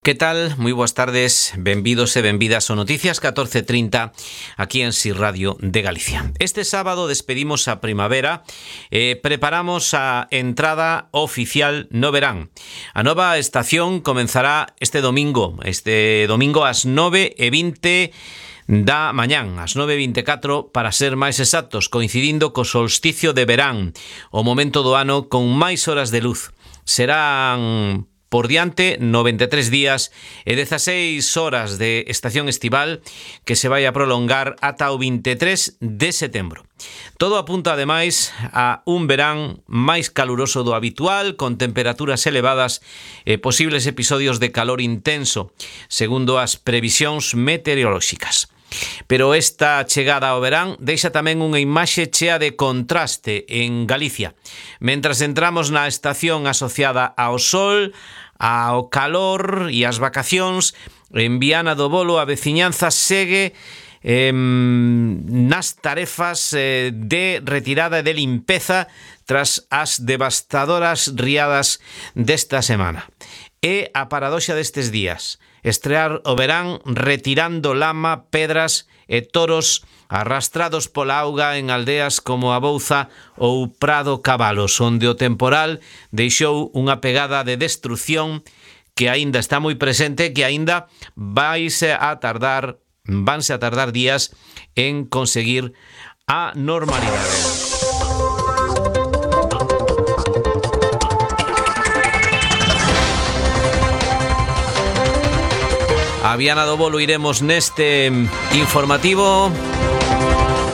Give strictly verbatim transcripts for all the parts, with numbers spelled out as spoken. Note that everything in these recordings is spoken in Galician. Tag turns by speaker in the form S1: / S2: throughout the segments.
S1: Que tal? Moi boas tardes, benvidos e benvidas ao Noticias catorce trinta aquí en Si Radio de Galicia. Este sábado despedimos a primavera e preparamos a entrada oficial no verán. A nova estación comenzará este domingo, este domingo ás nove e vinte da mañán, ás nove e vinte e catro para ser máis exactos, coincidindo co solsticio de verán, o momento do ano con máis horas de luz. Serán por diante noventa e tres días e dezaseis horas de estación estival que se vai a prolongar ata o vinte e tres de setembro. Todo apunta ademais a un verán máis caluroso do habitual, con temperaturas elevadas e posibles episodios de calor intenso, segundo as previsións meteorolóxicas. Pero esta chegada ao verán deixa tamén unha imaxe chea de contraste en Galicia. Mentras entramos na estación asociada ao sol, ao calor e ás vacacións, en Viana do Bolo a veciñanza segue eh, nas tarefas eh, de retirada e de limpeza tras as devastadoras riadas desta semana. É a paradoxa destes días, estrear o verán retirando lama, pedras e toros arrastrados pola auga en aldeas como a Bouza ou Prado Cabalos, onde o temporal deixou unha pegada de destrución que aínda está moi presente, que aínda vaise a tardar, vanse a tardar días en conseguir a normalidade. A Viana do Bolo iremos neste informativo.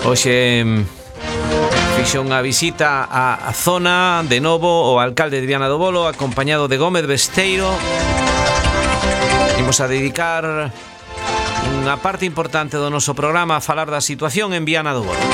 S1: Hoxe fixo unha visita á zona de novo o alcalde de Viana do Bolo, acompañado de Gómez Besteiro. Imos a dedicar unha parte importante do noso programa a falar da situación en Viana do Bolo.